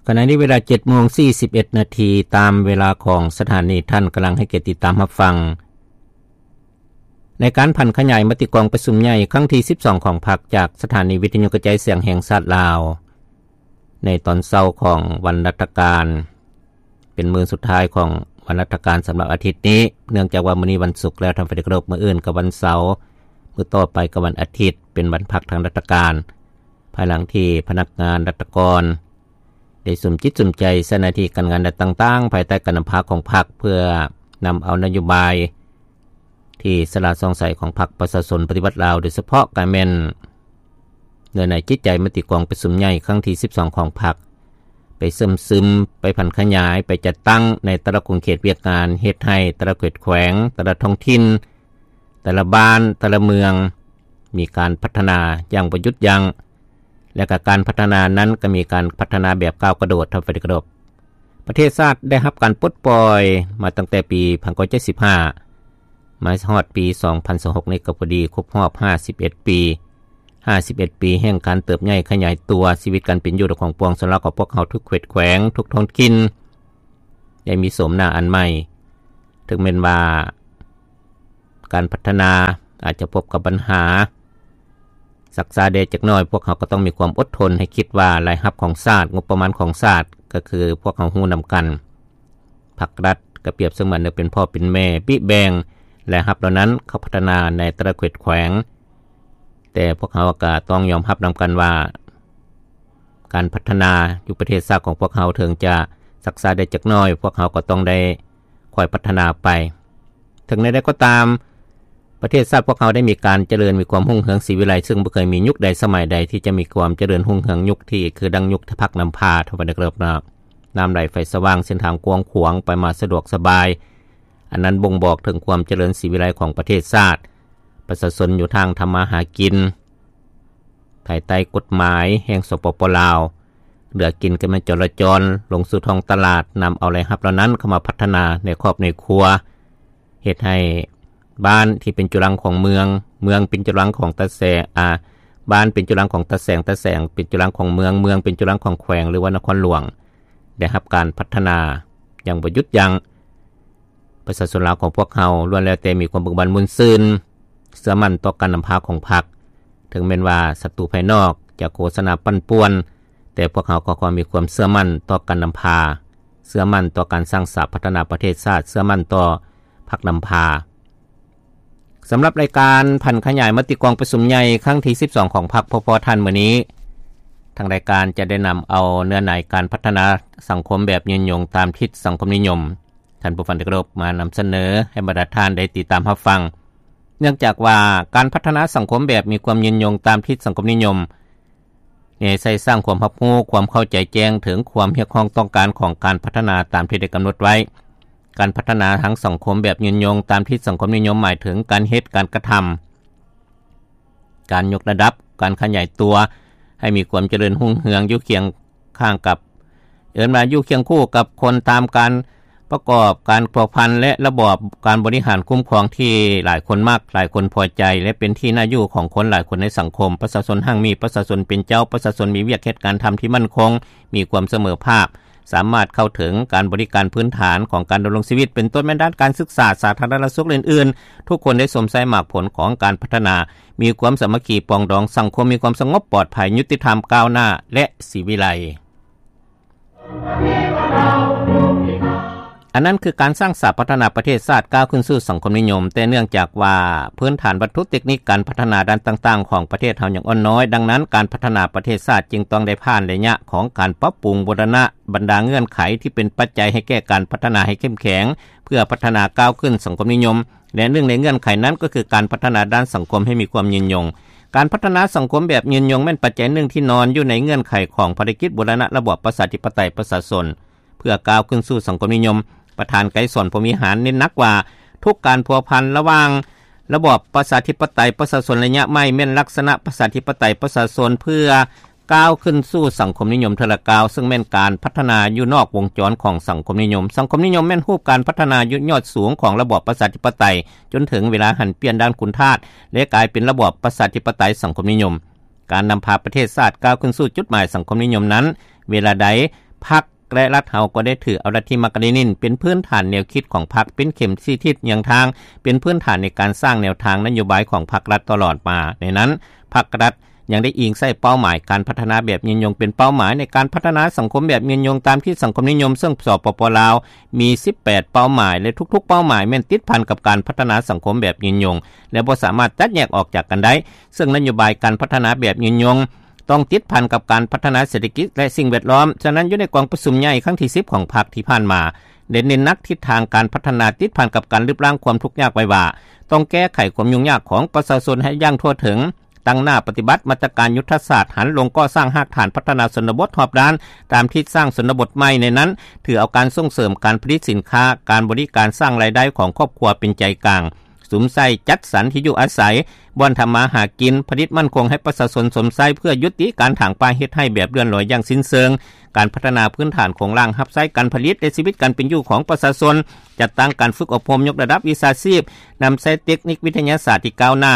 ຂະນະນີ້ເວລາເຈັດໂມງສີ່ສິບເອັດນາທີ ຕາມເວລາຂອງສະຖານີ. ທ່ານກຳລັງໃຫ້ກຽດຕິດຕາມຮັບຟັງ ໃນການຜັນຂະຫຍາຍມະຕິກອງປະຊຸມໃຫຍ່ຄັ້ງທີສິບສອງຂອງພັກ ຈາກສະຖານີວິທະຍຸກະຈາຍສຽງແຫ່ງຊາດລາວ ໃນຕອນເຊົ້າຂອງວັນລັດຖະການ ເປັນມື້ສຸດທ້າຍຂອງວັນລັດຖະການສຳລັບອາທິດນີ້, ເນື່ອງຈາກວ່າມື້ນີ້ວັນສຸກແລ້ວ ທ່ານຜູ້ທີ່ເຄົາລົບ, ມື້ອື່ນກໍວັນເສົາ, ມື້ຕໍ່ໄປກໍວັນອາທິດ ເປັນວັນພັກທາງລັດຖະການ, ພາຍຫຼັງທີ່ພະນັກງານລັດຖະກອນ ໄດ້ສຸມຈິດສຸມໃຈໃສ່ໜ້າທີ່ການງານດ້ານຕ່າງໆ ພາຍໃຕ້ການນຳພາຂອງພັກ ເພື່ອນຳເອົານະໂຍບາຍທີ່ສະຫຼາດສ່ອງໃສຂອງພັກປະຊາຊົນປະຕິວັດລາວ, ໂດຍສະເພາະກໍແມ່ນເນື້ອໃນຈິດໃຈມະຕິກອງປະຊຸມໃຫຍ່ຄັ້ງທີສິບສອງຂອງພັກ ໄປເຊື່ອມຊຶມ, ໄປຜັນຂະຫຍາຍ, ໄປຈັດຕັ້ງໃນແຕ່ລະຂົງເຂດວຽກງານ, ເຮັດໃຫ້ແຕ່ລະເຂດແຂວງ, ແຕ່ລະທ້ອງຖິ່ນ, ແຕ່ລະບ້ານ, ແຕ່ລະເມືອງ ມີການພັດທະນາຢ່າງບໍ່ຢຸດຢັ້ງ. ແລະ ກະການພັດທະນານັ້ນກໍມີການພັດທະນາແບບກ້າວກະໂດດ, ທ່ານຜູ້ທີ່ເຄົາລົບ. ປະເທດຊາດໄດ້ຮັບການປົດປ່ອຍມາຕັ້ງແຕ່ປີພັນເກົ້າຮ້ອຍເຈັດສິບຫ້າ ມາຮອດປີສອງພັນຊາວຫົກນີ້ກໍພໍດີຄົບຮອບຫ້າສິບເອັດປີ. ຫ້າສິບເອັດປີແຫ່ງການເຕີບໃຫຍ່ຂະຫຍາຍຕົວ, ຊີວິດການເປັນຢູ່ຂອງປວງຊົນລາວຂອງພວກເຮົາທຸກເຂດແຂວງ, ທຸກທ້ອງຖິ່ນ ໄດ້ມີໂສມໜ້າອັນໃໝ່. ເຖິງແມ່ນວ່າ ການພັດທະນາອາດຈະພົບກັບບັນຫາຊັກຊ້າແດ່ຈັກໜ້ອຍ, ພວກເຮົາກໍຕ້ອງມີຄວາມອົດທົນໃຫ້ຄິດວ່າລາຍຮັບຂອງຊາດ, ງົບປະມານຂອງຊາດ ກໍຄືພວກເຮົາຮູ້ນຳກັນ. ພັກລັດກໍປຽບສະເໝືອນໜຶ່ງເປັນພໍ່ເປັນແມ່ ບິແບ່ງລາຍຮັບເຫຼົ່ານັ້ນເຂົ້າພັດທະນາໃນແຕ່ລະເຂດແຂວງ. ແຕ່ພວກເຮົາກໍຕ້ອງຍອມຮັບນຳກັນວ່າ ການພັດທະນາຢູ່ປະເທດຊາດຂອງພວກເຮົາເຖິງຈະຊັກຊ້າໄດ້ຈັກໜ້ອຍ, ພວກເຮົາກໍຕ້ອງໄດ້ຄ່ອຍພັດທະນາໄປ. ເຖິງແນວໃດກໍຕາມ, ປະເທດຊາດພວກເຮົາໄດ້ມີການຈະເລີນ, ມີຄວາມຮຸ່ງເຮືອງສີວິໄລ, ເຊິ່ງບໍ່ເຄີຍມີຍຸກໃດສະໄໝໃດທີ່ຈະມີຄວາມຈະເລີນຮຸ່ງເຮືອງຍຸກທີ່ຄືດັ່ງຍຸກທີ່ພັກນຳພາ, ທ່ານຜູ້ທີ່ເຄົາລົບເນາະ. ນ້ຳໄຫຼໄຟສະຫວ່າງ, ເສັ້ນທາງກວ້າງຂວາງ, ໄປມາສະດວກສະບາຍ. ອັນນັ້ນບົ່ງບອກເຖິງຄວາມຈະເລີນສີວິໄລຂອງປະເທດຊາດ. ປະຊາຊົນຢູ່ທາງທຳມາຫາກິນ ພາຍໃຕ້ກົດໝາຍແຫ່ງ ສປປ ລາວ, ເຫຼືອກິນກໍແມ່ນຈໍລະຈອນ ລົງສູ່ທ້ອງຕະຫຼາດ, ນຳເອົາລາຍຮັບເຫຼົ່ານັ້ນເຂົ້າມາພັດທະນາໃນຄອບໃນຄົວ, ເຮັດໃຫ້ບ້ານທີ່ເປັນຈຸລັງຂອງເມືອງ, ເມືອງເປັນຈຸລັງຂອງຕາແສງ, ອາ, ບ້ານເປັນຈຸລັງຂອງຕາແສງ, ຕາແສງເປັນຈຸລັງຂອງເມືອງ, ເມືອງເປັນຈຸລັງຂອງແຂວງ ຫຼືວ່ານະຄອນຫຼວງ ໄດ້ຮັບການພັດທະນາຢ່າງບໍ່ຢຸດຢັ້ງ. ປະຊາຊົນລາວຂອງພວກເຮົາລ້ວນແລ້ວແຕ່ມີຄວາມເບີກບານມ່ວນຊື່ນ, ເຊື່ອໝັ້ນຕໍ່ການນຳພາຂອງພັກ, ເຖິງແມ່ນວ່າສັດຕູພາຍນອກຈະໂຄສະນາປັ່ນປ່ວນ, ແຕ່ພວກເຮົາກໍຍັງມີຄວາມເຊື່ອໝັ້ນຕໍ່ການນຳພາ, ເຊື່ອໝັ້ນຕໍ່ການສ້າງສາພັດທະນາປະເທດຊາດ, ເຊື່ອໝັ້ນຕໍ່ພັກນຳພາ. ສຳລັບລາຍການຜັນຂະຫຍາຍມະຕິກອງປະຊຸມໃຫຍ່ຄັ້ງທີສິບສອງຂອງພັກ ພພ ທ່ານ ມື້ນີ້, ທາງລາຍການຈະໄດ້ນຳເອົາເນື້ອໃນການພັດທະນາສັງຄົມແບບຍືນຍົງຕາມທິດສັງຄົມນິຍົມ ທ່ານຜູ້ຟັງທີ່ເຄົາລົບ, ມານຳສະເໜີໃຫ້ບັນດາທ່ານໄດ້ຕິດຕາມຮັບຟັງ. ເນື່ອງຈາກວ່າການພັດທະນາສັງຄົມແບບມີຄວາມຍືນຍົງຕາມທິດສັງຄົມນິຍົມ ແນໃສ່ສ້າງຄວາມຮັບຮູ້, ຄວາມເຂົ້າໃຈແຈ້ງເຖິງຄວາມຮຽກຮ້ອງຕ້ອງການຂອງການພັດທະນາຕາມທີ່ໄດ້ກຳນົດໄວ້. ການພັດທະນາທາງສັງຄົມແບບຍືນຍົງຕາມທິດສັງຄົມນິຍົມ ໝາຍເຖິງການເຮັດ, ການກະທຳ, ການຍົກລະດັບ, ການຂະຫຍາຍຕົວໃຫ້ມີຄວາມຈະເລີນຮຸ່ງເຮືອງຢູ່ຄຽງຂ້າງກັບ ເອີ້ນວ່າຢູ່ຄຽງຄູ່ກັບຄົນຕາມການປະກອບການພົວພັນ ແລະ ລະບອບການບໍລິຫານຄຸ້ມຄອງທີ່ຫຼາຍຄົນມັກ, ຫຼາຍຄົນພໍໃຈ ແລະ ເປັນທີ່ໜ້າຢູ່ຂອງຄົນຫຼາຍຄົນໃນສັງຄົມ. ປະຊາຊົນຮັ່ງມີ, ປະຊາຊົນເປັນເຈົ້າ, ປະຊາຊົນມີວຽກເຮັດການທຳທີ່ໝັ້ນຄົງ, ມີຄວາມສະເໝີພາບ, ສາມາດເຂົ້າເຖິງການບໍລິການພື້ນຖານຂອງການດຳລົງຊີວິດ, ເປັນຕົ້ນແມ່ນດ້ານການສຶກສາ, ສາທາລະນະສຸກ ແລະ ອື່ນໆ. ທຸກຄົນໄດ້ຊົມໃຊ້ໝາກຜົນຂອງການພັດທະນາ, ມີຄວາມສາມັກຄີປອງດອງ, ສັງຄົມມີຄວາມສະຫງົບປອດໄພ, ຍຸຕິທຳ, ກ້າວໜ້າ ແລະ ສີວິໄລ. ອັນນັ້ນຄືການສ້າງສາພັດທະນາປະເທດຊາດກ້າວຂຶ້ນສູ່ສັງຄົມນິຍົມ, ແຕ່ເນື່ອງຈາກວ່າພື້ນຖານວັດຖຸເຕັກນິກການພັດທະນາດ້ານຕ່າງໆຂອງປະເທດເຮົາຍັງອ່ອນນ້ອຍ, ດັ່ງນັ້ນການພັດທະນາປະເທດຊາດຈຶ່ງຕ້ອງໄດ້ຜ່ານໄລຍະຂອງການປັບປຸງບູລະນະບັນດາເງື່ອນໄຂທີ່ເປັນປັດໄຈໃຫ້ແກ່ການພັດທະນາໃຫ້ເຂັ້ມແຂງ, ເພື່ອພັດທະນາກ້າວຂຶ້ນສັງຄົມນິຍົມ. ແລະ ໜຶ່ງໃນເງື່ອນໄຂນັ້ນກໍຄືການພັດທະນາດ້ານສັງຄົມໃຫ້ມີຄວາມຍືນຍົງ. ການພັດທະນາສັງຄົມແບບຍືນຍົງແມ່ນປັດໄຈໜຶ່ງທີ່ນອນຢູ່ໃນເງື່ອນໄຂຂອງພາລະກິດບູລະນະລະບອບປະຊາທິປະໄຕປະຊາຊົນ ເພື່ອກ້າວຂຶ້ນສູ່ສັງຄົມນິຍົມ. ປະທານໄກສອນ ພົມວິຫານ ເນັ້ນໜັກວ່າ ທຸກການພົວພັນລະຫວ່າງລະບອບປະຊາທິປະໄຕປະຊາຊົນໄລຍະໃໝ່ ແມ່ນລັກສະນະປະຊາທິປະໄຕປະຊາຊົນ ເພື່ອ ກ້າວຂຶ້ນສູ່ສັງຄົມນິຍົມເທື່ອລະກ້າວ, ເຊິ່ງແມ່ນການພັດທະນາຢູ່ນອກວົງຈອນຂອງສັງຄົມນິຍົມ. ສັງຄົມນິຍົມແມ່ນຮູບການພັດທະນາຢູ່ຍອດສູງຂອງລະບອບປະຊາທິປະໄຕ, ຈົນເຖິງເວລາຫັນປ່ຽນດ້ານຄຸນທາດ ແລະ ກາຍເປັນລະບອບປະຊາທິປະໄຕສັງຄົມນິຍົມ. ການນຳພາປະເທດຊາດກ້າວຂຶ້ນສູ່ຈຸດໝາຍສັງຄົມນິຍົມນັ້ນ, ເວລາໃດ ພັກ ແລະ ລັດເຮົາກໍໄດ້ຖືເອົາລັດທິມາກາເລນິນ ເປັນພື້ນຖານແນວຄິດຂອງພັກ, ເປັນເຂັມຊີ້ທິດຍ່າງທາງ, ເປັນພື້ນຖານໃນການສ້າງແນວທາງນະໂຍບາຍຂອງພັກລັດຕະຫຼອດມາ. ໃນນັ້ນ, ພັກລັດຍັງໄດ້ອີງໃສ່ເປົ້າໝາຍການພັດທະນາແບບຍືນຍົງເປັນເປົ້າໝາຍໃນການພັດທະນາສັງຄົມແບບຍືນຍົງຕາມທິດສັງຄົມນິຍົມ, ເຊິ່ງ ສປປ ລາວ ມີສິບແປດເປົ້າໝາຍ ແລະ ທຸກໆເປົ້າໝາຍແມ່ນຕິດພັນກັບການພັດທະນາສັງຄົມແບບຍືນຍົງ ແລະ ບໍ່ສາມາດແຍກອອກຈາກກັນໄດ້, ເຊິ່ງນະໂຍບາຍການພັດທະນາແບບຍືນຍົງ ຕ້ອງຕິດພັນກັບການພັດທະນາເສດຖະກິດ ແລະ ສິ່ງແວດລ້ອມ. ສະນັ້ນ, ຢູ່ໃນກອງປະຊຸມໃຫຍ່ຄັ້ງທີສິບຂອງພັກທີ່ຜ່ານມາ ໄດ້ເນັ້ນໜັກທິດທາງການພັດທະນາຕິດພັນກັບການລຶບລ້າງຄວາມທຸກຍາກໄວ້ວ່າ ຕ້ອງແກ້ໄຂຄວາມຫຍຸ້ງຍາກຂອງປະຊາຊົນໃຫ້ຢ່າງທົ່ວເຖິງ, ຕັ້ງໜ້າປະຕິບັດມາດຕະການຍຸດທະສາດຫັນລົງກໍ່ສ້າງຮາກຖານພັດທະນາຊົນນະບົດຮອບດ້ານ ຕາມທິດສ້າງຊົນນະບົດໃໝ່. ໃນນັ້ນ, ຖືເອົາການສົ່ງເສີມການຜະລິດສິນຄ້າ, ການບໍລິການ, ສ້າງລາຍໄດ້ຂອງຄອບຄົວເປັນໃຈກາງ. ສຸມໃສ່ຈັດສັນທີ່ຢູ່ອາໄສ, ບ່ອນທຳມາຫາກິນ, ຜະລິດໝັ້ນຄົງໃຫ້ປະຊາຊົນຊົມໃຊ້ ເພື່ອຢຸດຕິການຖາງປ່າເຮັດໄຮ່ແບບເລື່ອນລອຍຢ່າງສິ້ນເຊີງ, ການພັດທະນາພື້ນຖານໂຄງລ່າງຮັບໃຊ້ການຜະລິດ ແລະ ຊີວິດການເປັນຢູ່ຂອງປະຊາຊົນ, ຈັດຕັ້ງການຝຶກອົບຮົມຍົກລະດັບວິຊາຊີບ, ນຳໃຊ້ເຕັກນິກວິທະຍາສາດທີ່ກ້າວໜ້າ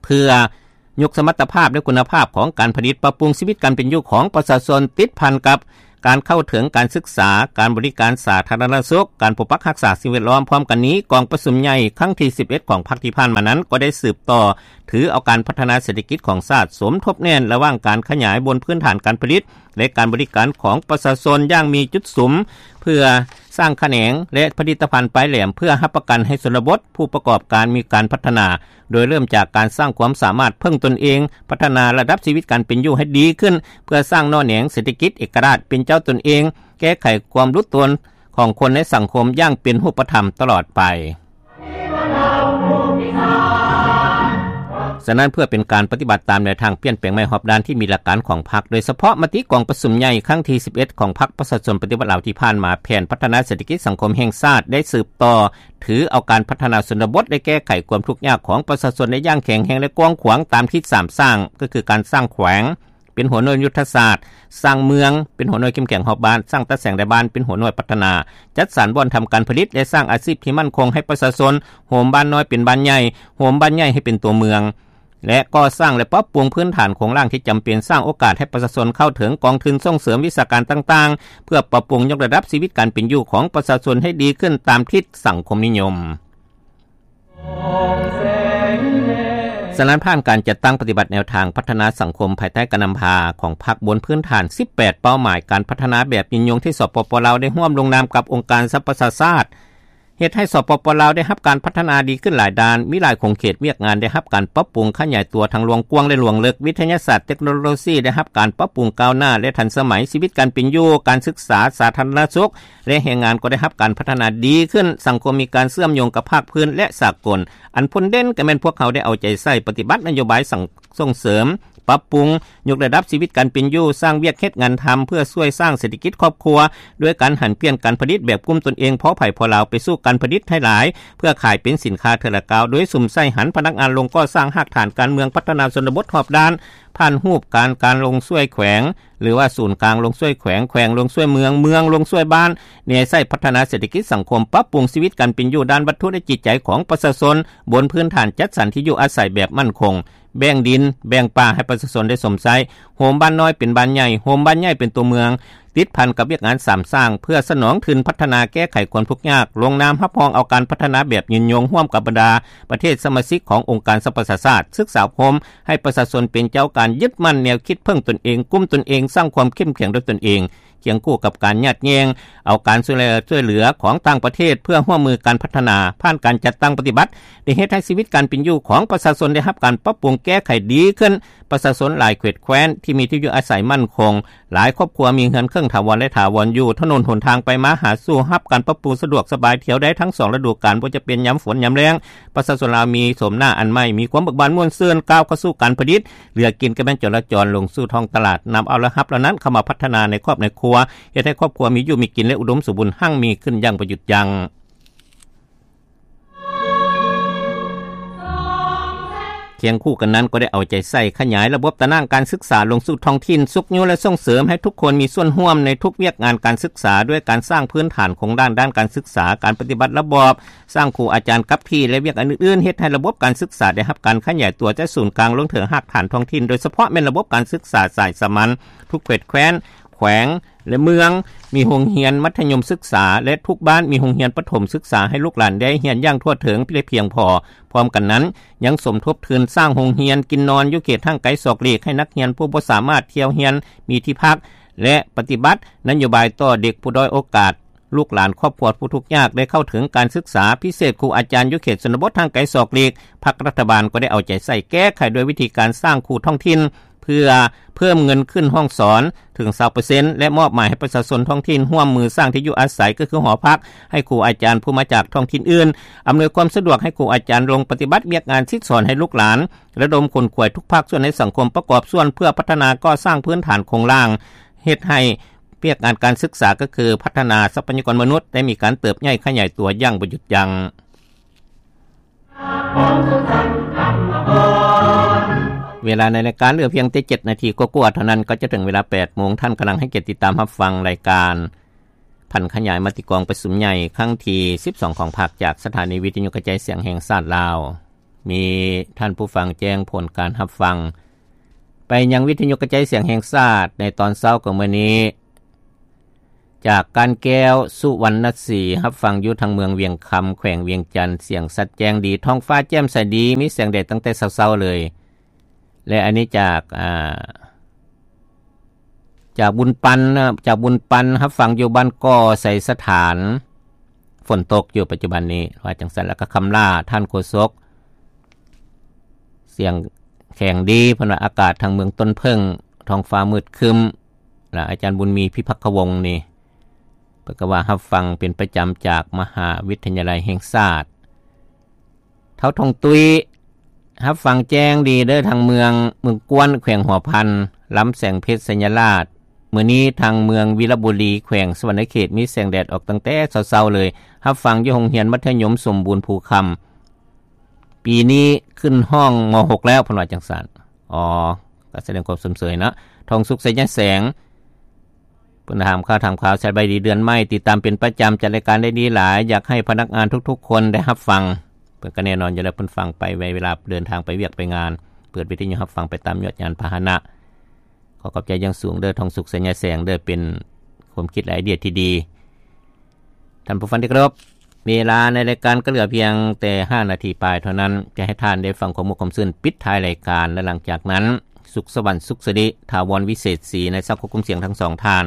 ເພື່ອຍົກສະມັດຕະພາບ ແລະ ຄຸນນະພາບຂອງການຜະລິດ, ປັບປຸງຊີວິດການເປັນຢູ່ຂອງປະຊາຊົນ, ຕິດພັນກັບການເຂົ້າເຖິງການສຶກສາ, ການບໍລິການສາທາລະນະສຸກ, ການປົກປັກຮັກສາສິ່ງແວດລ້ອມ. ພ້ອມກັນນີ້, ກອງປະຊຸມໃຫຍ່ຄັ້ງທີສິບເອັດຂອງພັກທີ່ຜ່ານມານັ້ນ ກໍໄດ້ສືບຕໍ່ຖືເອົາການພັດທະນາເສດຖະກິດຂອງຊາດ ສົມທົບແໜ້ນລະຫວ່າງການຂະຫຍາຍບົນພື້ນຖານການຜະລິດ ແລະ ການບໍລິການຂອງປະຊາຊົນຢ່າງມີຈຸດສຸມ, ເພື່ອສ້າງຂະແໜງ ແລະ ຜະລິດຕະພັນປາຍແຫຼມ ເພື່ອຮັບປະກັນໃຫ້ຊົນນະບົດຜູ້ປະກອບການມີການພັດທະນາ, ໂດຍເລີ່ມຈາກການສ້າງຄວາມສາມາດເພິ່ງຕົນເອງ, ພັດທະນາລະດັບຊີວິດການເປັນຢູ່ໃຫ້ດີຂຶ້ນ, ເພື່ອສ້າງໜໍ່ແໜງເສດຖະກິດເອກະລາດເປັນເຈົ້າຕົນເອງ, ແກ້ໄຂຄວາມຫຼຸດໂຕນຂອງຄົນໃນສັງຄົມຢ່າງເປັນຮູບປະທຳຕະຫຼອດໄປ. ສະນັ້ນ, ເພື່ອເປັນການປະຕິບັດຕາມແນວທາງປ່ຽນແປງໃໝ່ຮອບດ້ານທີ່ມີຫຼັກການຂອງພັກ, ໂດຍສະເພາະມະຕິກອງປະຊຸມໃຫຍ່ຄັ້ງທີສິບເອັດຂອງພັກປະຊາຊົນປະຕິວັດລາວທີ່ຜ່ານມາ, ແຜນພັດທະນາເສດຖະກິດສັງຄົມແຫ່ງຊາດໄດ້ສືບຕໍ່ ຖືເອົາການພັດທະນາຊົນນະບົດ ແລະ ແກ້ໄຂຄວາມທຸກຍາກຂອງປະຊາຊົນໄດ້ຢ່າງແຂງແຮງ ແລະ ກວ້າງຂວາງຕາມທິດສາມສ້າງ, ກໍຄືການສ້າງແຂວງເປັນຫົວໜ່ວຍຍຸດທະສາດ, ສ້າງເມືອງເປັນຫົວໜ່ວຍເຂັ້ມແຂງຮອບບ້ານ, ສ້າງຕາແສງໃນບ້ານເປັນຫົວໜ່ວຍພັດທະນາ, ຈັດສັນບ່ອນທຳການຜະລິດ ແລະ ສ້າງອາຊີບທີ່ໝັ້ນຄົງໃຫ້ປະຊາຊົນ, ໂຮມບ້ານນ້ອຍເປັນບ້ານໃຫຍ່, ໂຮມບ້ານໃຫຍ່ໃຫ້ເປັນຕົວເມືອງ. ແລະ ກໍ່ສ້າງ ແລະ ປັບປຸງພື້ນຖານໂຄງລ່າງທີ່ຈຳເປັນ, ສ້າງໂອກາດໃຫ້ປະຊາຊົນເຂົ້າເຖິງກອງທຶນສົ່ງເສີມວິຊາການຕ່າງໆ ເພື່ອປັບປຸງຍົກລະດັບຊີວິດການເປັນຢູ່ຂອງປະຊາຊົນໃຫ້ດີຂຶ້ນຕາມທິດສັງຄົມນິຍົມ. ສະນັ້ນ, ຜ່ານການຈັດຕັ້ງປະຕິບັດແນວທາງພັດທະນາສັງຄົມພາຍໃຕ້ການນຳພາຂອງພັກບົນພື້ນຖານສິບແປດເປົ້າໝາຍການພັດທະນາແບບຍືນຍົງທີ່ ສປປ ລາວ ໄດ້ຮ່ວມລົງນາມກັບອົງການສະຫະປະຊາຊາດ, ເຮັດໃຫ້ ສປປ ລາວ ໄດ້ຮັບການພັດທະນາດີຂຶ້ນຫຼາຍດ້ານ, ມີຫຼາຍຂົງເຂດວຽກງານໄດ້ຮັບການປັບປຸງຂະຫຍາຍຕົວທັງລວງກວ້າງ ແລະ ລວງເລິກ, ວິທະຍາສາດເຕັກໂນໂລຊີໄດ້ຮັບການປັບປຸງກ້າວໜ້າ ແລະ ທັນສະໄໝ, ຊີວິດການເປັນຢູ່, ການສຶກສາ, ສາທາລະນະສຸກ ແລະ ແຮງງານກໍໄດ້ຮັບການພັດທະນາດີຂຶ້ນ, ສັງຄົມມີການເຊື່ອມໂຍງກັບພາກພື້ນ ແລະ ສາກົນ. ອັນພົ້ນເດັ່ນກໍແມ່ນພວກເຮົາໄດ້ເອົາໃຈໃສ່ປະຕິບັດນະໂຍບາຍ ສ- ສົ່ງເສີມ, ປັບປຸງ, ຍົກລະດັບຊີວິດການເປັນຢູ່, ສ້າງວຽກເຮັດງານທຳເພື່ອຊ່ວຍສ້າງເສດຖະກິດຄອບຄົວ, ດ້ວຍການຫັນປ່ຽນການຜະລິດແບບກຸ້ມຕົນເອງພໍໃຜພໍລາວໄປສູ່ການຜະລິດໃຫ້ຫຼາຍ ເພື່ອຂາຍເປັນສິນຄ້າເທື່ອລະກ້າວ, ໂດຍສຸມໃສ່ຫັນພະນັກງານລົງກໍ່ສ້າງຮາກຖານການເມືອງ, ພັດທະນາຊົນນະບົດຮອບດ້ານ, ຜ່ານຮູບການການລົງຊ່ວຍແຂວງ ຫຼືວ່າສູນກາງລົງຊ່ວຍແຂວງ, ແຂວງລົງຊ່ວຍເມືອງ, ເມືອງລົງຊ່ວຍບ້ານ, ແນໃສ່ພັດທະນາເສດຖະກິດສັງຄົມ, ປັບປຸງຊີວິດການເປັນຢູ່ດ້ານວັດຖຸ ແລະ ຈິດໃຈຂອງປະຊາຊົນ ບົນພື້ນຖານຈັດສັນທີ່ຢູ່ອາໄສແບບໝັ້ນຄົງ, ແບ່ງດິນ, ແບ່ງປ່າໃຫ້ປະຊາຊົນໄດ້ຊົມໃຊ້, ໂຮມບ້ານນ້ອຍເປັນບ້ານໃຫຍ່, ໂຮມບ້ານໃຫຍ່ເປັນຕົວເມືອງ, ຕິດພັນກັບວຽກງານສາມສ້າງ ເພື່ອສະໜອງທຶນພັດທະນາແກ້ໄຂຄວາມທຸກຍາກ, ລົງນາມຮັບຮອງເອົາການພັດທະນາແບບຍືນຍົງຮ່ວມກັບບັນດາປະເທດສະມາຊິກຂອງອົງການສະຫະປະຊາຊາດ, ສຶກສາອົບຮົມໃຫ້ປະຊາຊົນເປັນເຈົ້າການ, ຍຶດໝັ້ນແນວຄິດເພິ່ງຕົນເອງ, ກຸ້ມຕົນເອງ, ສ້າງຄວາມເຂັ້ມແຂງດ້ວຍຕົນເອງ, ຄຽງຄູ່ກັບການຍາດແຍ່ງເອົາການຊ່ວຍເຫຼືອ ຊ່ວຍເຫຼືອຂອງຕ່າງປະເທດ ເພື່ອຮ່ວມມືກັນພັດທະນາ. ຜ່ານການຈັດຕັ້ງປະຕິບັດ ໄດ້ເຮັດໃຫ້ຊີວິດການເປັນຢູ່ຂອງປະຊາຊົນໄດ້ຮັບການປັບປຸງແກ້ໄຂດີຂຶ້ນ, ປະຊາຊົນຫຼາຍເຂດແຄວ້ນທີ່ມີທີ່ຢູ່ອາໄສໝັ້ນຄົງ, ຫຼາຍຄອບຄົວມີເຮືອນເຄິ່ງຖາວອນ ແລະ ຖາວອນຢູ່, ຖະໜົນຫົນທາງໄປມາຫາສູ່ຮັບການປັບປຸງສະດວກສະບາຍ, ທ່ຽວໄດ້ທັງສອງລະດູການ, ບໍ່ຈະເປັນຍາມຝົນຍາມແລ້ງ. ປະຊາຊົນລາວມີໂສມໜ້າອັນໃໝ່, ມີຄວາມເບີກບານມ່ວນຊື່ນ, ກ້າວເຂົ້າສູ່ການຜະລິດ, ເຫຼືອກິນກໍແມ່ນຈໍລະຈອນ, ລົງສູ່ທ້ອງຕະຫຼາດ, ນຳເອົາລາຍຮັບເຫຼົ່ານັ້ນເຂົ້າມາພັດທະນາໃນຄອບໃນຄົວ, ເຮັດໃຫ້ຄອບຄົວມີຢູ່ມີກິນ ແລະ ອຸດົມສົມບູນຮັ່ງມີຂຶ້ນຢ່າງບໍ່ຢຸດຢັ້ງ. ຄຽງຄູ່ກັນນັ້ນກໍໄດ້ເອົາໃຈໃສ່ຂະຫຍາຍລະບົບຕາໜ່າງການສຶກສາລົງສູ່ທ້ອງຖິ່ນ, ຊຸກຍູ້ ແລະ ສົ່ງເສີມໃຫ້ທຸກຄົນມີສ່ວນຮ່ວມໃນທຸກວຽກງານການສຶກສາ, ດ້ວຍການສ້າງພື້ນຖານໂຄງລ່າງດ້ານການສຶກສາ, ການປະຕິບັດລະບອບ, ສ້າງຄູອາຈານກັບທີ່ ແລະ ວຽກອັນອື່ນໆ ເຮັດໃຫ້ລະບົບການສຶກສາໄດ້ຮັບການຂະຫຍາຍຕົວຈາກສູນກາງລົງເຖິງຮາກຖານທ້ອງຖິ່ນ, ໂດຍສະເພາະແມ່ນລະບົບການສຶກສາສາຍສາມັນ, ທຸກເຂດແຄວ້ນ, ແຂວງ, ແລະເມືອງ ມີໂຮງຮຽນມັດທະຍົມສຶກສາ ແລະທຸກບ້ານມີໂຮງຮຽນປະຖົມສຶກສາ ໃຫ້ລູກຫຼານໄດ້ຮຽນຢ່າງທົ່ວເຖິງ ແລະພຽງພໍ. ພ້ອມກັນນັ້ນ ຍັງສົມທົບທຶນສ້າງໂຮງຮຽນກິນນອນຢູ່ເຂດຫ່າງໄກສອກຫຼີກ ໃຫ້ນັກຮຽນຜູ້ບໍ່ສາມາດທ່ຽວຮຽນມີທີ່ພັກ ແລະປະຕິບັດນະໂຍບາຍຕໍ່ເດັກຜູ້ດ້ອຍໂອກາດ, ລູກຫຼານຄອບຄົວຜູ້ທຸກຍາກ ໄດ້ເຂົ້າເຖິງການສຶກສາ. ພິເສດຄູອາຈານຢູ່ເຂດຊົນນະບົດຫ່າງໄກສອກຫຼີກ ພັກລັດຖະບານກໍໄດ້ເອົາໃຈໃສ່ແກ້ໄຂດ້ວຍວິທີການສ້າງຄູທ້ອງຖິ່ນ ເພື່ອເພີ່ມເງິນຂຶ້ນຫ້ອງສອນເຖິງຊາວເປີເຊັນ ແລະມອບໝາຍໃຫ້ປະຊາຊົນທ້ອງຖິ່ນຮ່ວມມືສ້າງທີ່ຢູ່ອາໄສ ກໍຄືຫໍພັກ ໃຫ້ຄູອາຈານຜູ້ມາຈາກທ້ອງຖິ່ນອື່ນ, ອຳນວຍຄວາມສະດວກໃຫ້ຄູອາຈານລົງປະຕິບັດວຽກງານສິດສອນໃຫ້ລູກຫຼານ, ລະດົມຂົນຂວາຍທຸກພາກສ່ວນໃນສັງຄົມປະກອບສ່ວນເພື່ອພັດທະນາກໍ່ສ້າງພື້ນຖານໂຄງລ່າງ, ເຮັດໃຫ້ວຽກງານການສຶກສາ ກໍຄືພັດທະນາຊັບພະຍາກອນມະນຸດ ໄດ້ມີການເຕີບໃຫຍ່ຂະຫຍາຍຕົວຢ່າງບໍ່ຢຸດຢັ້ງ. ເວລາໃນລາຍການເຫຼືອພຽງແຕ່ເຈັດນາທີກວ່າໆເທົ່ານັ້ນ ກໍຈະເຖິງເວລາແປດໂມງ. ທ່ານກຳລັງໃຫ້ກຽດຕິດຕາມຮັບຟັງລາຍການຜັນຂະຫຍາຍມະຕິກອງປະຊຸມໃຫຍ່ຄັ້ງທີສິບສອງຂອງພັກ ຈາກສະຖານີວິທະຍຸກະຈາຍສຽງແຫ່ງຊາດລາວ. ມີທ່ານຜູ້ຟັງແຈ້ງຜົນການຮັບຟັງໄປຍັງວິທະຍຸກະຈາຍສຽງແຫ່ງຊາດໃນຕອນເຊົ້າຂອງມື້ນີ້. ຈາກການແກ້ວ ສຸວັນນະສີ ຮັບຟັງຢູ່ທາງເມືອງວຽງຄຳ ແຂວງວຽງຈັນ, ສຽງຊັດແຈ້ງດີ, ທ້ອງຟ້າແຈ່ມໃສດີ, ມີແສງແດດຕັ້ງແຕ່ເຊົ້າໆເລີຍ. ແລະ ອັນນີ້ຈາກ ອາ ຈາກບຸນປັນນະ, ຈາກບຸນປັນ ຮັບຟັງຢູ່ບ້ານກໍໄຊສະຖານ, ຝົນຕົກຢູ່ປັດຈຸບັນນີ້ ວ່າຈັ່ງຊັ້ນ. ແລ້ວກໍຄຳຫຼ້າ ທ່ານໂຄສົກ ສຽງແຂງດີ ເພິ່ນວ່າອາກາດທາງເມືອງຕົ້ນເຜິ້ງ ທ້ອງຟ້າມືດຄຶ້ມ. ແລະ ອາຈານບຸນມີ ພິພັກຄະວົງນີ້ ເພິ່ນກໍວ່າຮັບຟັງເປັນປະຈຳຈາກມະຫາວິທະຍາໄລແຫ່ງຊາດ. ທ້າວທອງຕຸ້ຍ ຮັບຟັງແຈ້ງດີເດີ ທາງເມືອງ ເມືອງກວນ ແຂວງຫົວພັນ, ລຳແສງເພັດ ໄຊຍະລາດ. ມື້ນີ້ທາງເມືອງວິລະບູລີ ແຂວງສະຫວັນນະເຂດ ມີແສງແດດອອກຕັ້ງແຕ່ເຊົ້າໆເລີຍ, ຮັບຟັງຢູ່ໂຮງຮຽນມັດທະຍົມສົມບູນພູຄຳ. ປີນີ້ຂຶ້ນຫ້ອງ ມ.ຫົກ ແລ້ວ ເພິ່ນວ່າຈັ່ງຊັ້ນ. ອໍ ກໍສະແດງຄວາມຊົມເຊີຍເນາະ. ທອງສຸກ ໄຊຍະແສງ ເພິ່ນຖາມຂ່າວ ຖາມຂ່າວ ສະບາຍດີເດືອນໃໝ່ ຕິດຕາມເປັນປະຈຳ ຈັດລາຍການໄດ້ດີຫຼາຍ, ຢາກໃຫ້ພະນັກງານທຸກໆຄົນໄດ້ຮັບຟັງ. ເພິ່ນກໍແນ່ນອນຢູ່ແລ້ວ ເພິ່ນຟັງໄປເວລາເດີນທາງໄປວຽກໄປງານ, ເປີດວິທະຍຸຮັບຟັງໄປຕາມຍອດຍານພາຫະນະ. ຂໍຂອບໃຈຢ່າງສູງເດີ ທອງສຸກ ໄຊຍະແສງເດີ ເປັນຄວາມຄິດ ແລະ ໄອເດຍທີ່ດີ. ທ່ານຜູ້ຟັງທີ່ເຄົາລົບ, ເວລາໃນລາຍການກໍເຫຼືອພຽງແຕ່ຫ້ານາທີປາຍເທົ່ານັ້ນ ຈະໃຫ້ທ່ານໄດ້ຟັງຄວາມມ່ວນຄວາມຊື່ນປິດທ້າຍລາຍການ ແລະ ຫຼັງຈາກນັ້ນ ສຸກສະຫວັນ ສຸກສິລິ ຖາວອນ ວິເສດສີ ໃນສັງຄົມຄວາມສຽງທັງສອງທ່ານ.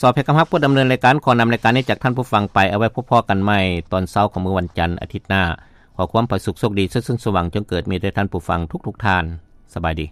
ສອບເພກຳຮັກຜູ້ດຳເນີນລາຍການ ຂໍນຳລາຍການນີ້ຈາກທ່ານຜູ້ຟັງໄປ. ເອົາໄວ້ພົບພໍ້ກັນໃໝ່ຕອນເຊົ້າຂອງມື້ວັນຈັນອາທິດໜ້າ. ຂໍຄວາມຜາສຸກໂຊກດີ ສະເສີນສວ່າງ ຈົ່ງເກີດມີແດ່ທ່ານຜູ້ຟັງທຸກໆທ່ານ. ສະບາຍດີ.